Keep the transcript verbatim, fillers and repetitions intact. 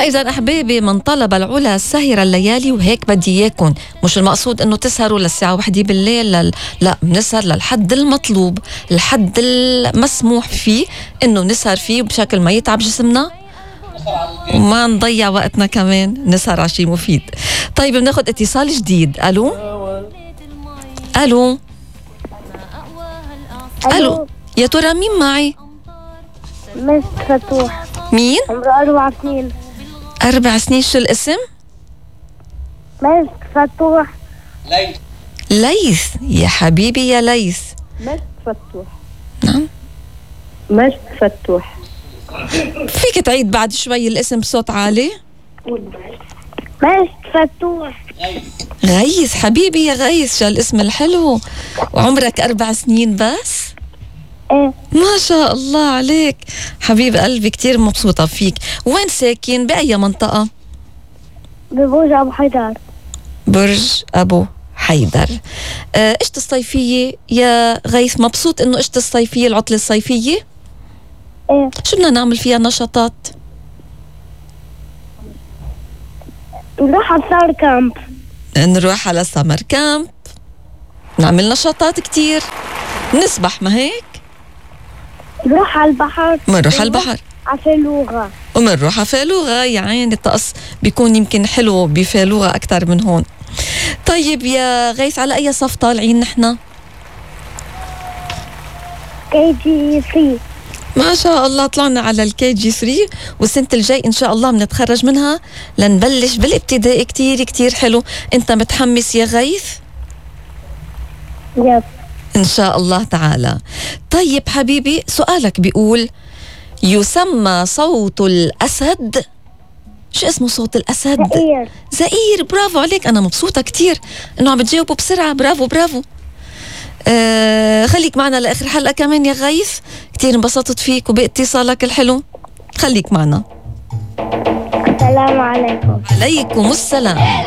فإذا أحبابي من طلب العلا سهر الليالي، وهيك بدي إياكم. مش المقصود إنه تسهروا للساعة واحدة بالليل، لل... لا، بنسهر للحد المطلوب، الحد المسموح فيه إنه نسهر فيه بشكل ما يتعب جسمنا وما نضيع وقتنا، كمان نسهر على شيء مفيد. طيب بناخد اتصال جديد. ألو ألو ألو، يا ترى مين معي؟ مس فتوح. مين؟ عمره أربع سنين. أربع سنين. شو الاسم؟ مس فتوح. ليث. ليث يا حبيبي يا ليث. مس فتوح. نعم مس فتوح. فيك تعيد بعد شوي الاسم بصوت عالي؟ مس فتوح. غيث حبيبي يا غيث، شو الاسم الحلو. وعمرك أربع سنين بس؟ ايه ما شاء الله عليك حبيب قلبي، كتير مبسوطة فيك. وين ساكن؟ بأي منطقة؟ ببرج أبو حيدر. برج أبو حيدر. آه، إشت الصيفية يا غيث؟ مبسوط إنه إشت الصيفية، العطلة الصيفية؟ ايه شو بدنا نعمل فيها نشاطات؟ نروح على السار كامب. نروح على سمر كامب، نعمل نشاطات كتير، نسبح ما هيك؟ نروح على البحر. منروح على البحر على فلوغة. ومنروح على فالوغة. يا عين الطقس بيكون يمكن حلو بفالوغة أكتر من هون. طيب يا غيث، على أي صف طالعين نحن؟ كي جي سي. ما شاء الله طلعنا على الكي جي ثري، والسنة الجاي إن شاء الله بنتخرج منها لنبلش بالابتدائي. كتير كتير حلو. أنت متحمس يا غيث؟ يب. إن شاء الله تعالى. طيب حبيبي، سؤالك بيقول: يسمى صوت الأسد، شو اسمه صوت الأسد؟ زئير. زئير. برافو عليك، أنا مبسوطة كتير إنه عم بتجاوبوا بسرعة. برافو برافو. آه خليك معنا لآخر حلقة كمان يا غيث، كتير انبسطت فيك وباتصالك الحلو. خليك معنا. السلام عليكم. عليكم السلام.